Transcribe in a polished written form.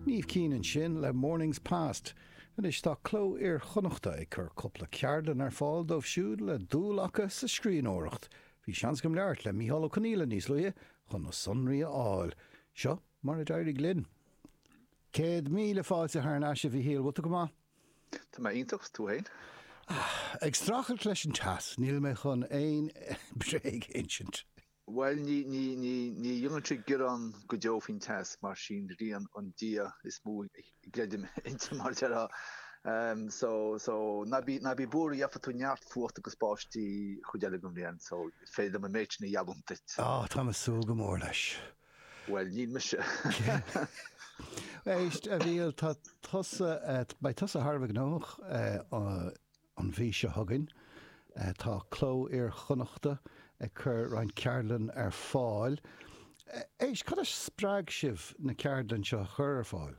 Niamh Keane ansin le Mornings Past. Anois tá Cló Iar-Chonnachta ag cur cúpla ceardlann ar fáil dóibh siúd le dúil acu sa scríbhneoireacht. Bhí seans agam labhairt le Mícheál Ó Conghaile níos luaithe chun na sonraí a fháil. Seo mar a d'éirigh linn. 100,000 fáilte thar n-ais a Mhíchíl, bhfuil tú go maith? Tá mé iontach, 's tú fhéin? Ag streachailt leis an teas, níl mé chun aon bréag a insint. Bhuel, ní, ní, ní, ní dhéanann sé gearán go deo faoin teas, mar sí'n ghrian an dia is mó a gcreidim inti, mar a déarfá. So, so, ná bí, ná bí buartha, gheobhaidh tú neart fuachta agus báistí chuid eile den bhliain, so is féidir liom an méid sin a gheallúint duit. Á, tá mé ag súil go mór leis. Bhuel, níl mise. Éist, a Mhíchíl, tá tusa, beidh tusa thar a bheith gnóthach An mhí seo chugainn, tá Cló Iar-Chonnachta ag cur roinnt ceardlann ar fáil. Éist, cad a spreag sibh na ceardlann seo a chur ar fáil?